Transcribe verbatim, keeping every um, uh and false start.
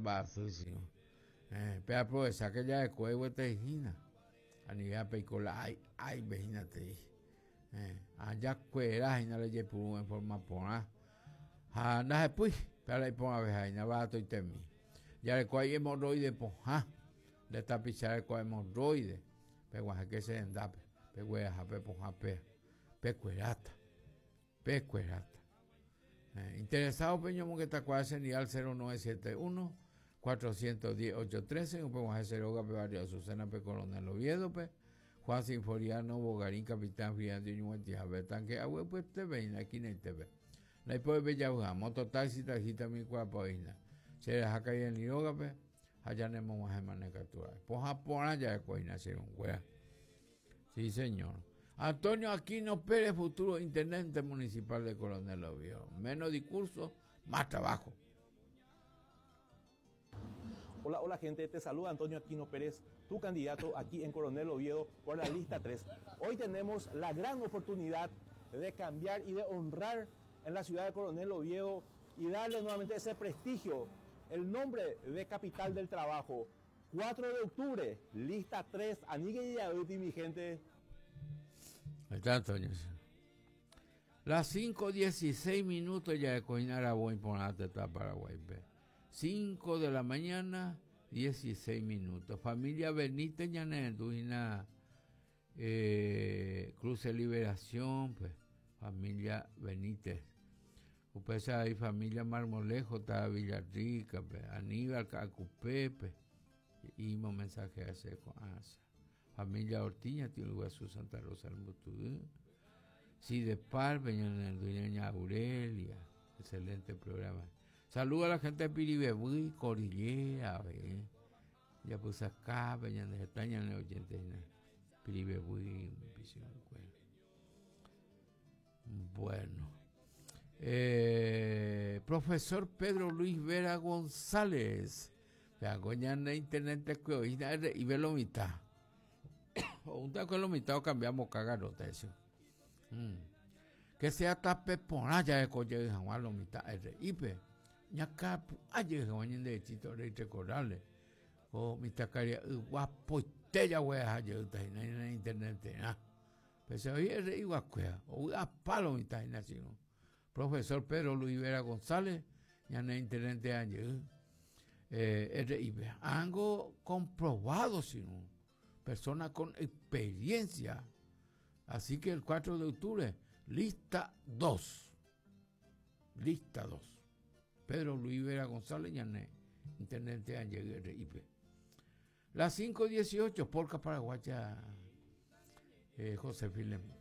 mba'asy eh, pe aprovecha que ya después te hína anigea peiko la ai ai hína te eh, allá kuera hína le jepuru en forma porã ha ndahepýi pe iporãveha hína baratoitemi jareko ai hemorroide pohã nde tapicha reko hemorroide peguahẽke che rendápe pegueraha pe pohã pe pekueráta pekueráta eh, interesado peñomongetakuaa che ndive cero nueve siete uno cuatrocientos diez ocho trece upeguahẽ che rógape barrio Azucena pe Coronel Oviedo pe Juan Sinforiano Bogarín Capitán Friandio ñuguetihape tanque aguepyeteve hína esquinaitepe ndaipovépe javy'a mototaxi taxista mikuapaohína che raha kaireni rógape ha janemog̃uahẽmane katu pohã porã jareko hína che irũnguéra. Sí, señor. Antonio Aquino Pérez, futuro intendente municipal de Coronel Oviedo. Menos discurso, más trabajo. Hola, hola gente, te saluda Antonio Aquino Pérez, tu candidato aquí en Coronel Oviedo por la lista tres. Hoy tenemos la gran oportunidad de cambiar y de honrar en la ciudad de Coronel Oviedo y darle nuevamente ese prestigio, el nombre de capital del trabajo. cuatro de octubre, lista tres, Anigue y mi gente. Ahí está, Antonio. Las cinco dieciséis minutos ya de Coinara voy por la teta Paraguay. cinco de la mañana, dieciséis minutos. Familia Benítez Ñanendujina, eh, Cruce Liberación, pues, familia Benítez. Ustedes hay familia Marmolejo, está Villarrica, pues, Aníbal Cacupepe. Y un mensaje a ese con asa. Familia Ortiña, tiene lugar su Santa Rosa del Mutudú. Sí, de Par, Peña Aurelia. Excelente programa. Saluda a la gente de Piribebuy, Cordillera, ve. Ya puse acá, Peña de Estaña, en el oyente, Piribebuy, Bueno. Eh, profesor Pedro Luis Vera González. Vean, en internet y ve lo mitad. O un taco de lo mitad o cambiamos cagarote eso. Mm. Que sea tape por allá de coche de Juan lo mitad R I P. Ñaca aye Juan de chito rey recordarle. O mitad caria guapo ya voy a hallar en internet. Ah. Pero se oye R I guacuea o a palo mitad sino. Profesor Pedro Luis Vera González, ya en internet ayer. Eh, R I P. Algo comprobado, sino persona con experiencia. Así que el cuatro de octubre, lista dos. Lista dos. Pedro Luis Vera González, Ñané, intendente Ángel R I P. Las cinco dieciocho, Polka Paraguaya, eh, José Filemón.